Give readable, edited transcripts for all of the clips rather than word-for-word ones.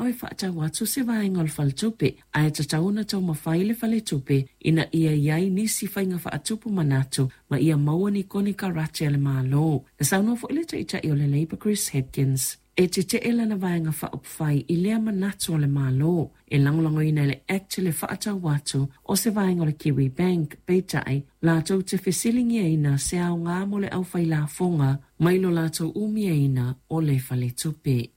mana'o e fa'atau atu se vaega o le faletupe, ae tatau ona taumafai le faletupe ina ia i ai nisi faiga fa'atupu manatu ma ia maua ni konekarate a le Malo. Na saunoa foi le Taitai o le Labour Chris Hipkins e tete'e lana Vaega Faaupufai i lea manatu o le Malo e lagolagoina e le Act le fa'atau atu o se vaega o le Kiwibank, peitai, latou te fesiligiaina se aogā mo le aufailafoga mai lo latou umiaina o le faletupe.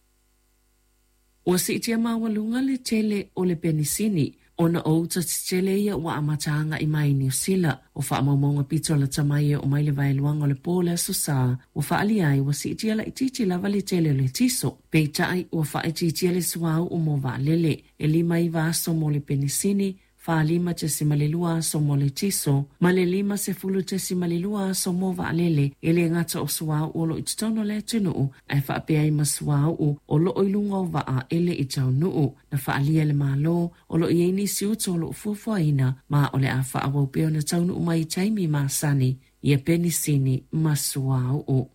Ua siitia maualuga le tele o le penisini ona o uta tetele ia ua amata aga'i mai i Niu Sila. O faamaumauga pito lata mai e oo mai le vaeluaga o le po o le Aso Sa, ua faaalia ai ua siitia laitiiti lava le tele o le tiso. Peitai, ua faaitiitia le suauu mo vaalele, e 59 aso mo le penisini, 45.2 aso mo le tiso, ma le 50.2 aso mo vaalele, e le gata o suauu o lo o i totonu o le atunuu, ae faapea ai ma suauu o lo o i luga o vaa e le i taunuu. Na faaalia e le Malo, o lo o i ai nisi uta o lo o fuafuaina, ma o le a faaauau pea ona taunuu mai i taimi masani ia penisini ma suauu.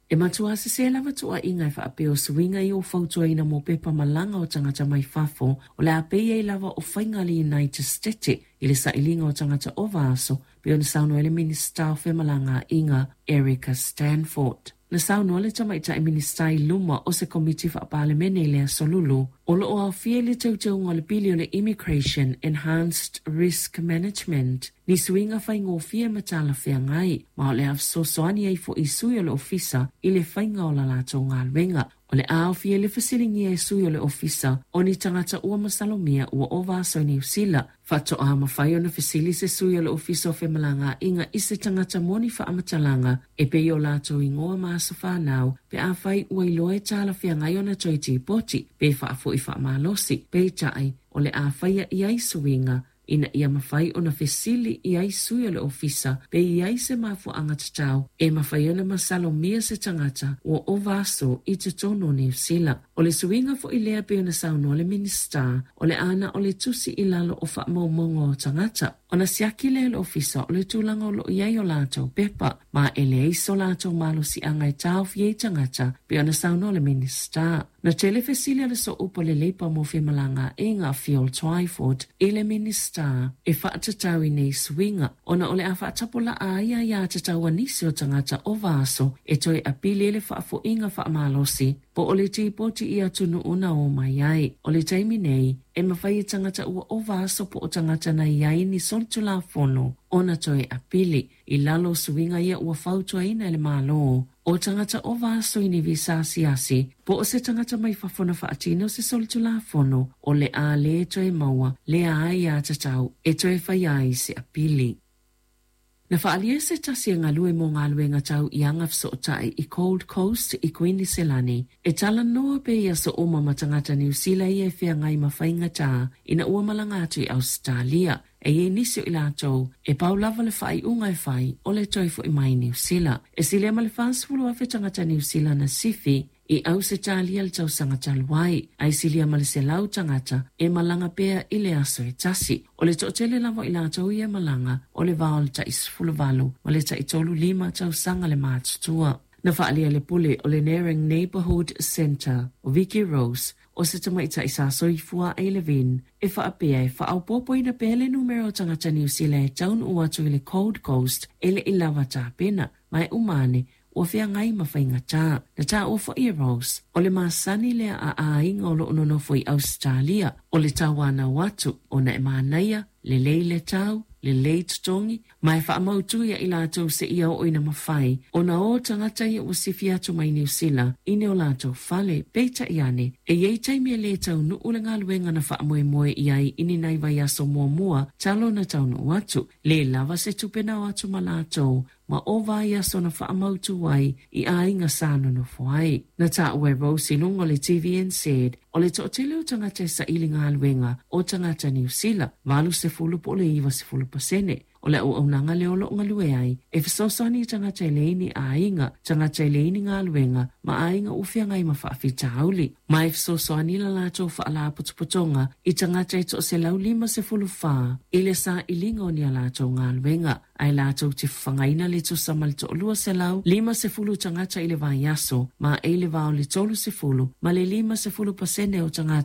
E matuā sesē lava tuuaiga e faapea o suiga ia ua fautuaina mo pepa malaga o tagata mai fafo o le a pei ai lava o faiga a le United Stete i le sailiga o tagata ova aso, pei ona saunoa ai le Minisita o Femalagaaiga Erica Stanford. Na saunoa le tamaitai Minisita i luma o se Komiti Faa-Palemene i le Aso Lulu, o lo o aofia i le teuteuga o le pili o le Immigration Enhanced Risk Management ni suiga faigofie ma talafeagai, ma o le a fesoasoani ai foi i sui o le Ofisa i le faiga o la latou galuega. O le a aofia i le fesiligia e sui o le Ofisa o ni tagata ua masalomia ua ova aso i Niu Sila, faatoa mafai ona fesili se sui o le Ofisa o Femalagaaiga i se tagata mo ni faamatalaga e pei o latou igoa ma aso fanau pe afai ua iloa e talafeagai ona toe tipoti pe faafoi faamalosi, peitai, o le a faia i ai suiga ina ia mafai ona fesili i ai sui o le Ofisa pe i ai se mafuaaga tatau e mafai ona masalomia se tagata ua ova aso i totonu o Niu Sila. O le suiga foi lea pei ona saunoa le Minisita, o le a na o le tusi i lalo o faamaumauga o tagata, ona siaki lea e le Ofisa o le tulaga o lo o i ai o latou pepa, ma e leai so latou malosiaga e taofi ai tagata, pei ona saunoa le Minisita. Na tele fesili a le Sooupu a le Leipa mo Femalagaaiga, Phil Twyford, i le Minisita e faatatau i nei suiga, ona o le a faatapulaa ai aiatatau a nisi o tagata ova aso e toe apili i le faafoiga faamalosi po o le tipoti i atunuu na o mai ai. O le taimi nei, e mafai e tagata ua ova aso po o tagata na i ai ni solitulafono ona toe apili i lalo o suiga ia ua fautuaina e le Malo. O tagata ova aso i ni visa asiasi, po o se tagata mai fafo na faatino se solitulafono, o le a le toe maua lea aiatatau e toe faia ai se apili. Na faaalia se tasi e galue mo galuega tau i aga fesootai i Gold Coast i Kuiniselani e talanoa pea i aso uma ma tagata Niu Sila ia e feagai ma faigatā ina ua malaga atu i Ausetalia. E i ai nisi o i latou e pau lava le faaiuga e fai o le toe fo'i mai i Niu Sila. E silia ma le 40,000 tagata Niu Sila na sifi i Ausetalia le tausaga talu ai, ae silia ma le 100 tagata e malaga pea i le aso e tasi. O le toatele lava o i latou ia e malaga, o le va o le tai 18 ma le tai 35 tausaga le matutua. Na faaalia le pule o le Nerang Neighbourhood Centre, o Vicki Rose, o se tamaitai sa soifua ai Levin, e faapea e faaopoopoina pea le numera o tagata Niu Sila e taunuu atu i le Gold Coast e le i lava tapena, ma e uma ane, ua feagai ma faigatā. Na taua foi e Rose, o le masani lea a aiga o lo o nonofo i Ausetalia, o le tauanau atu, ona e manaia, lelei le tau, lelei totogi, ma e faamautu ia i latou seia oo ina mafai ona o tagata ia ua sifi atu mai Niu Sila i ni o latou fale. Peitai ane, e i ai taimi e le taunuu le galuega na faamoemoe i ai i ni nai vaiaso muamua talu ona taunuu atu. Le lava se tupe na o atu ma latou ma ova ai aso na faamautu ai i aiga sa nonofo ai. Na taua e Rose i luga o le TVNZ, o le toatele o tagata e saili galuega o tagata Niu Sila, 80 po o le 90%. O le auaunaga lea o lo o galue ai, e fesoasoani i tagata e leai ni aiga, tagata e leai ni galuega, ma aiga ua feagai ma faafitauli. Ma e fesoasoani la latou faalapotopotoga i tagata e toa 154 i le sailiga o ni a latou galuega. Ae latou te fafagaina le tusa ma le 1,250 tagata i le vaiaso, ma e i le va o le 30 ma le 50% o tagata.